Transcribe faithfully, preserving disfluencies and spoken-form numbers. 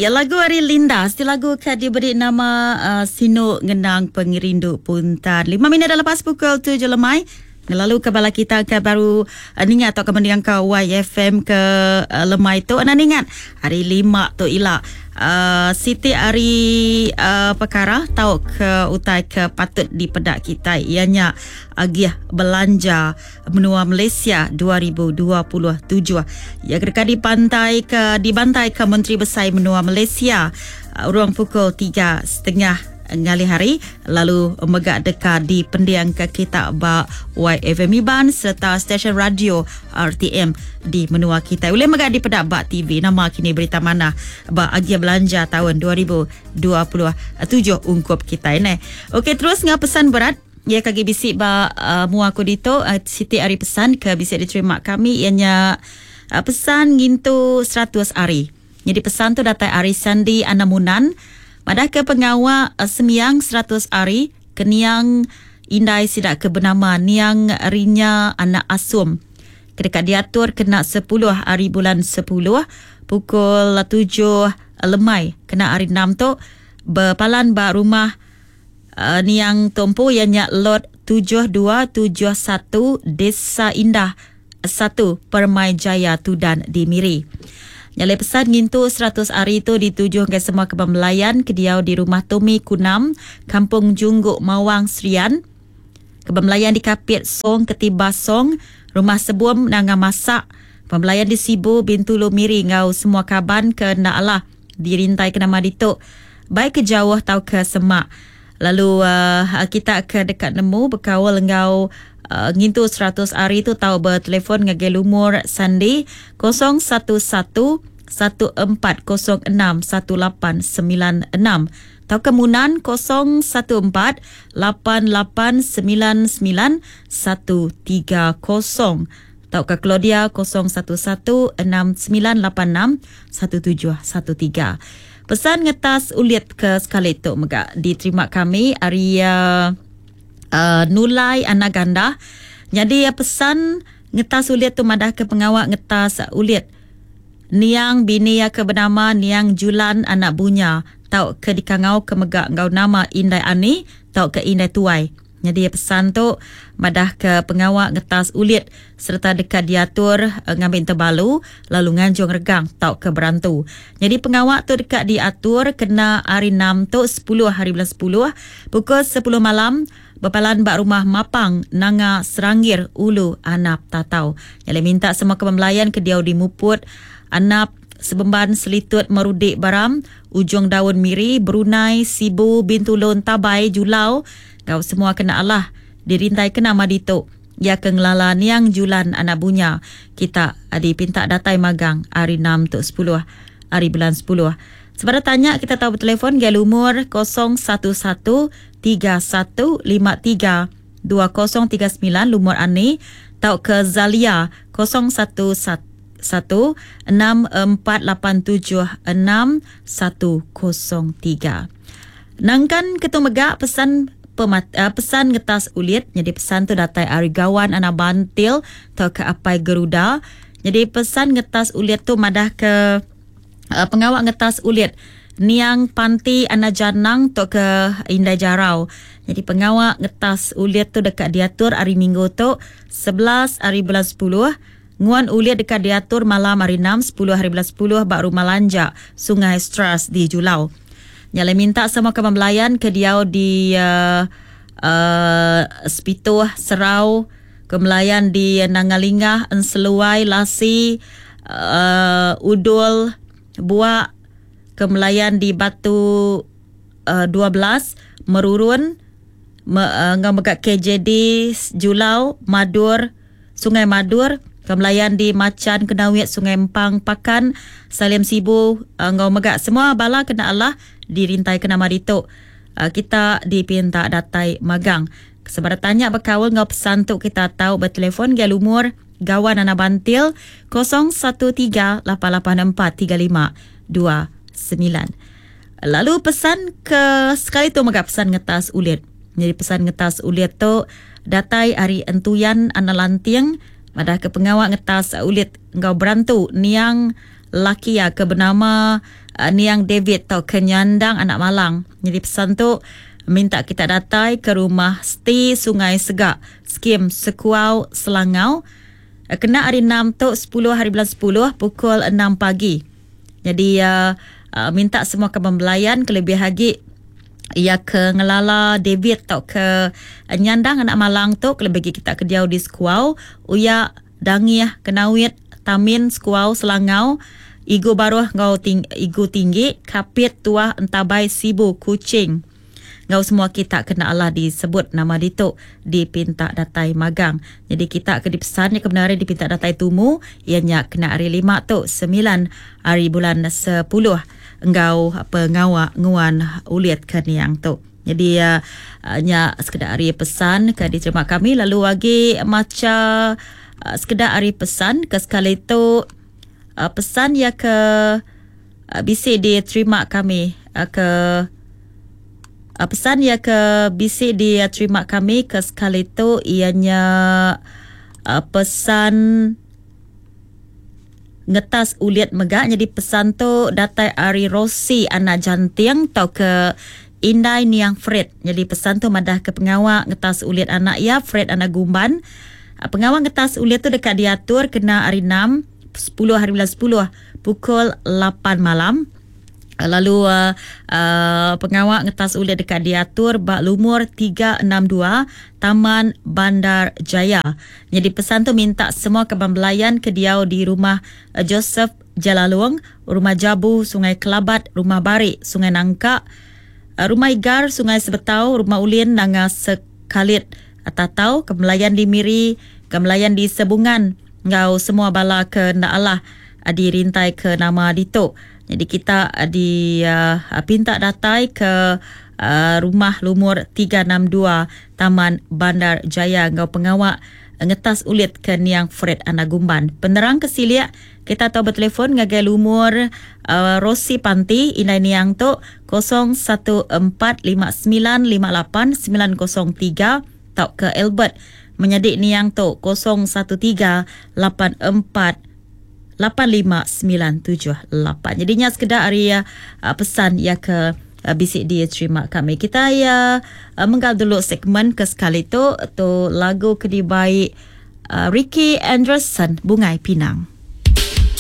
Ya, lagu ari Linda, siti lagu ke diberi nama uh, Sinu Ngenang Pengerindu Puntan. Lima minit dah lepas pukul tujuh lemai. Lalu ke bala kita ke baru uh, ningat atau ke mendiang ke Y F M ke uh, lemai tu. Anda ningat hari lima tu ila. Uh, siti hari uh, perkara tau ke utai ke patut dipedak kita ianya agih belanja menua Malaysia dua ribu dua puluh tujuh. Ya kedekat di pantai ke dibantai ke Menteri Besar Menua Malaysia uh, ruang pukul tiga setengah ngalih hari lalu megak deka di pendiang ke kita ba Y F M Iban serta stesen radio R T M di menua kita. Boleh megak di pedak ba T V nama kini berita mana ba agih belanja tahun dua ribu dua puluh tujuh ungkup kita ini. Okey, terus ngah pesan berat ya kagi bisi ba uh, mua aku dito uh, Siti ari pesan ke bisa diterima kami ianya uh, pesan ngintu seratus hari. Jadi pesan tu datai ari Sandi Anamunan. Madah ke pengawak uh, semiang seratus hari keniang indai sidak ke bernama Niang Rinya Anak Asum. Kedekat diatur kena sepuluh hari bulan sepuluh pukul tujuh lemai kena hari enam tu berpalan ba rumah uh, Niang Tompu ianya lot tujuh dua tujuh satu Desa Indah satu Permai Jaya Tudan di Miri. Nyalai pesan ngintu seratus hari itu dituju ke semua kebang melayan ke diau di rumah Tomi Kunam, Kampung Jungguk Mawang Serian. Kebang melayan di Kapit Song Ketiba Song, Rumah Sebuam Nanga Masak. Kebang melayan di Sibu Bintulu Miri ngau semua kaban ke nak Allah dirintai ke nama dituk. Baik ke jauh atau ke semak. Lalu uh, kita ke dekat nemu berkawal ngau Uh, ngintu seratus hari tu tahu bertelefon ngagai lumur Sandi kosong satu satu satu empat kosong enam satu lapan sembilan enam atau kemunan kosong satu empat lapan lapan sembilan sembilan satu tiga kosong atau ke Claudia kosong satu satu enam sembilan lapan enam satu tujuh satu tiga. Pesan ngetas ulit ke sekali tu mega diterima kami hari uh, Uh, Nulai Anak Ganda. Jadi ya, pesan ngetas ulit tu madah ke pengawak ngetas ulit Niang bini ya ke bernama Niang Julan Anak Bunya tau ke dikangau ke megak ngau nama Indai Ani tau ke Indai Tuai. Jadi ya, pesan tu madah ke pengawak ngetas ulit serta dekat diatur uh, ngambil terbalu lalu nganjung regang tau ke berantu. Jadi pengawak tu dekat diatur kena hari enam tu sepuluh hari bulan sepuluh pukul sepuluh malam berpalan bak rumah Mapang Nanga Seranggir Ulu Anap Tatau. Yang minta semua kebang ke diau di Muput Anap Sebemban Selitut Merudik Baram Ujung Daun Miri Brunei Sibu Bintulun Tabai Julau kau semua kena Allah dirintai kena madituk ya ke ngelala Niang Julan Anak Bunya kita adi pinta datai magang hari enam tu sepuluh hari bulan sepuluh. Sebab tanya kita tahu bertelefon gaya umur kosong satu satu tiga satu lima tiga dua kosong tiga sembilan lumur ani tau ke Zalia kosong satu satu enam empat lapan tujuh enam satu kosong tiga. Nangkan ketua megak pesan pemat, uh, pesan ngetas ulit. Jadi pesan tu datai ari gawan anak bantil tau ke apai Geruda. Jadi pesan ngetas ulit tu madah ke uh, pengawak ngetas ulit Niang Panti Anak Janang tu ke Indai Jarau. Jadi pengawak ngetas ulit tu dekat diatur hari Minggu tu sebelas hari bulan sepuluh. Nguan ulit dekat diatur malam hari enam sepuluh hari bulan sepuluh bak rumah Lanjak Sungai Stras di Julau. Nyalai minta semua kebang melayan ke diau di uh, uh, Sepituh Serau, kemelayan di Nangalingah, Enseluai, Lasi, uh, Udul, Buak, kemelayan di Batu uh, dua belas, Merurun, me, uh, ngau megak K J D, Julau, Madur, Sungai Madur, kemelayan di Macan, Kenawit, Sungai Empang, Pakan, Salim Sibu, uh, ngau megak semua bala kena Allah dirintai ke nama dituk. Uh, kita dipinta datai magang. Sebab tanya berkawal ngau pesan tu kita tahu bertelefon gaya lumur gawan anak bantil kosong satu tiga lapan lapan empat tiga lima dua sembilan. Lalu pesan ke sekali tu megak pesan ngetas ulit. Jadi pesan ngetas ulit tu datai ari entuyan anak lanting madah ke pengawak ngetas ulit ngau berantu Niang laki ya ke bernama uh, Niang David tau ke Nyandang Anak Malang. Jadi pesan tu minta kita datai ke rumah Sti Sungai Segak, Skim Sekuau Selangau. Kena hari enam tu sepuluh hari bulan sepuluh pukul enam pagi. Jadi uh, uh, minta semua ke pembelayan kelebih lagi ia ke ngelala David tau ke Nyandang Anak Malang tu kelebih lagi kita ke diau di Sekuau, Uya, Dangih, Kenawit, Tamin, Sekuau, Selangau, Igu Baruh ngau ting, Igu Tinggi, Kapit, Tuah, Entabai, Sibu, Kuching. Ngau semua kita kena Allah disebut nama ditu dipinta datai magang. Jadi kita ke dipesan yang kebenaran dipinta datai tumu ianya kena hari lima tu sembilan hari bulan sepuluh engau pengawa nguan ulit ke niang tu. Jadi uh, nya sekedar hari pesan ke diterima kami lalu lagi maca uh, sekedar hari pesan ke sekali tu uh, pesan ya ke uh, bisi diterima kami uh, ke Uh, pesan ya ke bisi diterima kami ke sekali tu ianya uh, pesan ngetas uliat megak. Jadi pesan tu datai ari Rosi anak janting tau ke Indai Niang Fred. Jadi pesan tu madah ke pengawak ngetas uliat anak ya Fred anak Gumban. Uh, pengawak ngetas uliat tu dekat diatur kena hari enam sepuluh hari bulan sepuluh pukul lapan malam. Lalu uh, uh, pengawak ngetas uliat dekat diatur bak lumur tiga enam dua Taman Bandar Jaya. Jadi pesan tu minta semua kebang belayan ke diau di rumah uh, Joseph Jalalung, rumah Jabu Sungai Kelabat, rumah Barik Sungai Nangka, uh, rumah Igar Sungai Sebetau, rumah Ulin Nanga Sekalit Tatau, kebelayan di Miri, kebelayan di Sebungan, ngau semua bala ke ndak Allah uh, dirintai ke nama ditu. Jadi kita di uh, pinta datai ke uh, rumah lumur tiga enam dua Taman Bandar Jaya ngau pengawak ngetas ulit ke Niang Fred Anak Gumban. Penerang ke siliak kita tahu bertelefon ngagai lumur uh, Rosi Panti Indai Niang tu kosong satu empat lima sembilan lima lapan sembilan kosong tiga tau ke Albert menyadik Niang tu kosong satu tiga lapan empat lapan lima sembilan tujuh lapan. Jadinya sekedar hari uh, pesan ya ke uh, bisik dia terima kami. Kita ya uh, menggal dulu segmen ke sekali tu tu lagu kedibai uh, Ricky Anderson Bungai Pinang.